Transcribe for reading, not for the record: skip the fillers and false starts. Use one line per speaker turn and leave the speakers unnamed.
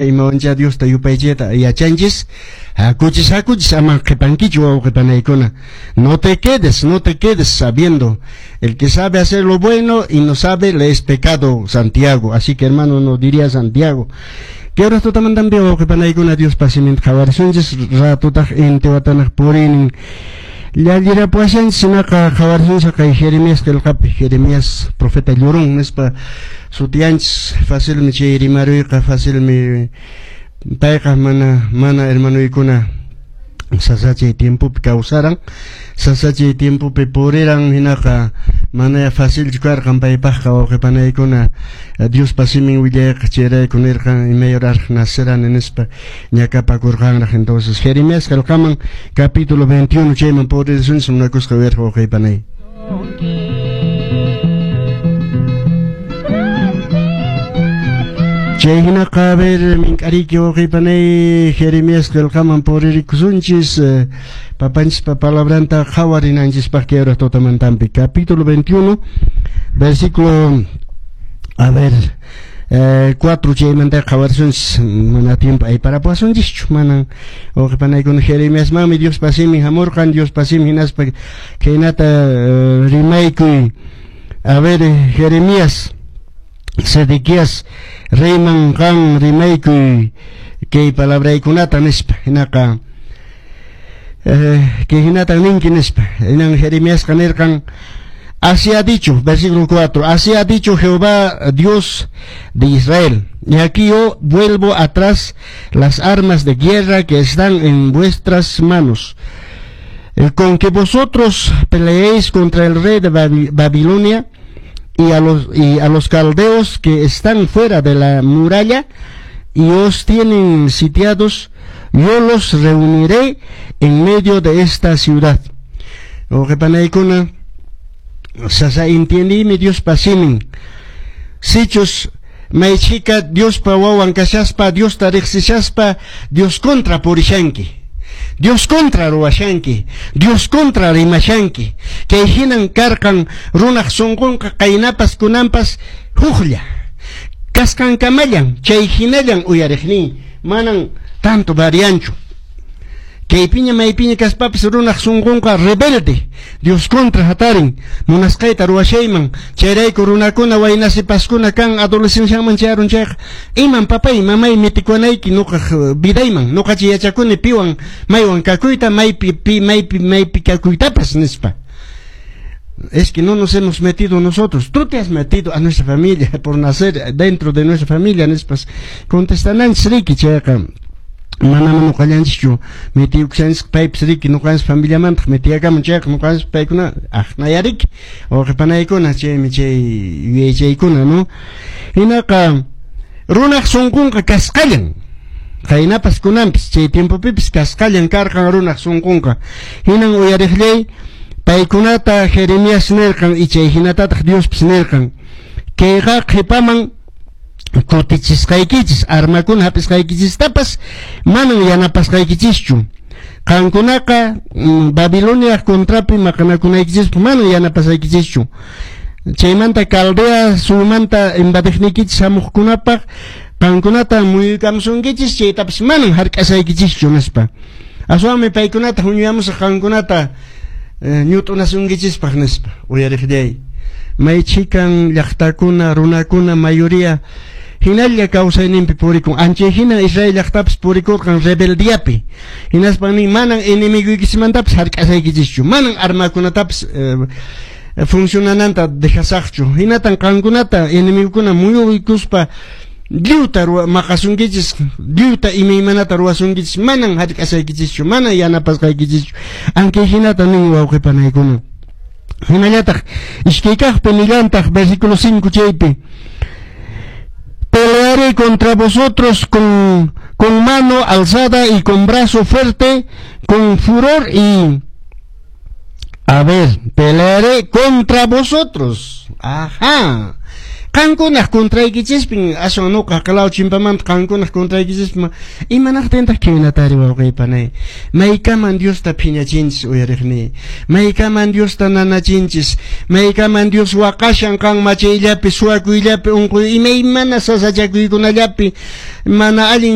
Imawancha Diosta yupaychayta yachanchis. Hakuchis, hakuchis, ama qhipankichu, wawqipanaykuna. No te quedes, no te quedes sabiendo. El que sabe hacer lo bueno y no sabe, le es pecado, Santiago. Así que, hermano, no diría Santiago. Kay horas tutamantanpi, wawqipanaykuna, Diospa siminta qhawarisunchis, ratutaq intiwatanaq purinin. Llallirapuashanchis, hinaqa qhawarisunchis kay Jeremías qillqapi. Jeremías profeta llorón nispa sutiyanchis. Facilmi chay rimaruyqa, facilmi payqa mana hermanoykuna sasachay tiempopi kawsaran, sasachay tiempopi puriran, hinaqa mana facilchu karqan paypaqqa, wawqipanaykuna, Diospa simin willayqa. Chayrayku nirqan imayraraq nacerani nispa ñakapakurqanraq. Entonces, Jeremías qillqaman, capítulo 21, chayman puririsunchis, munakusqa uyariq wawqipanay. Chay hinaqa, a ver, mink'ariki, wawqipanay, Jeremías qillqaman puririkusunchis, papanchispa palabranta qhawarinanchispaq kay hora tutamantanpi. Capítulo 21, versículo, a ver, 4, chaymanta qhawarisunchis, mana tiempo ayparapuasunchischu, manan, wawqipanaykuna. Jeremiasmanmi Diospa simin hamurqan, Diospa simin, hinaspa khaynata rimaykuy. A ver, Jeremías, Sedequías reyman qan rimaykuy kay palabraykunata nispa. Hinaqa kay hinatan ninki nispa. Hinan Jeremiasqa nirqan: "Así ha dicho", versículo 4, "así ha dicho Jehová Dios de Israel: Y aquí yo vuelvo atrás las armas de guerra que están en vuestras manos, con que vosotros peleéis contra el rey de Babilonia y a los caldeos que están fuera de la muralla y os tienen sitiados. Yo los reuniré en medio de esta ciudad." Wawqipanaykuna, sasa entiendimi Diospa simin. Sichus maychika Diospa wawan kashaspa, Diosta riqsishaspa, Dios contra purishanki, Dios contra ruwashanki, Dios contra rimashanki. Kay hinan karqan runaq sunqunqa, qaynapas kunanpas huklla. Kasqankamallan, chay hinallan uyariqnin, manan tanto varianchu. Kaypiña maypiña kaspapis runaq sunqunqa rebelde, Dios contra hatarin, munasqayta ruwashayman. Chayrayku runakuna, waynasipaskuna kan adolescenciaman chayarun chayqa, iman papay, mamay metikuanayki nuqaq vidayman, nuqachi yachakuni piwan maywan kakuyta, maypi pi maypi maypi kakuytapas nispa. Es que no nos hemos metido nosotros. Tú te has metido a nuestra familia por nacer dentro de nuestra familia, nispas contestananchis riki. Chayqa manama nuqallanchischu metiyukushanchis, paypis riki nuqanchis familiamantaq metiyakamun chayqa nuqanchis paykuna aqnayariki, wawqipanaykuna. Chaymi chay yuyaychaykuna, no? Hinaqa runaq sunqunqa kasqallan, qaynapas kunanpis, chay tiempopipis kasqallan karqan runaq sunqunqa. Hinan, uyariqllay, paykunata Jeremías nirqan, y chay hinatataq Diospis nirqan: kayqa qhipaman kutichisqaykichis, armakuna hap'isqaykichistapas manan yanapasqaykichischu. Qankunaqa Babilonia contrapi maqanakunaykichispaq manan yanapasqaykichischu. Chaymanta Caldea suyumanta invadiqniykichis hamuqkunapaq qankunata muyuykamusunkichis, chaytapas manan hark'asaykichischu nispa. Aswanmi paykunata huñuyamusaq qankunata ñut'unasunkichispaq nispa. Uyariqllay, may chikan llaqtakuna, runakuna, mayoría hinalla kawsayninpi purikun. Anchay hina Israel llaqtapas purikurqan rebeldiapi. Hinaspan nin: manan enemiguykichismantapas hark'asaykichischu, manan armakunatapas funcionananta dejasaqchu. Hinatan qankunata enemigukuna muyuykuspa lliwta maqasunkichis, lliwta imaymanata ruwasunkichis, manan hark'asaykichischu, manan yanapasqaykichischu. Ankay hinata nin, wawqipanaykuna. Hinallataq iskay kaqpi nillantaq, versículo 5 chaypi: "Pelearé contra vosotros con mano alzada y con brazo fuerte, con furor y..." A ver, pelearé contra vosotros. Ajá. Qankunaq contraykichispin, aswan nuqa haqlaw chimpamanta qankunaq contraykichispin. Imanaqtintaq khaynatari, wawqey panay? Maykaman Diosta phiñachinchis, uyariqniy? Maykaman Diosta nanachinchis? Maykaman Dios waqashan qan machayllapi, suwakuyllapi, unquy, imaymana sasachakuykunallapi, mana allin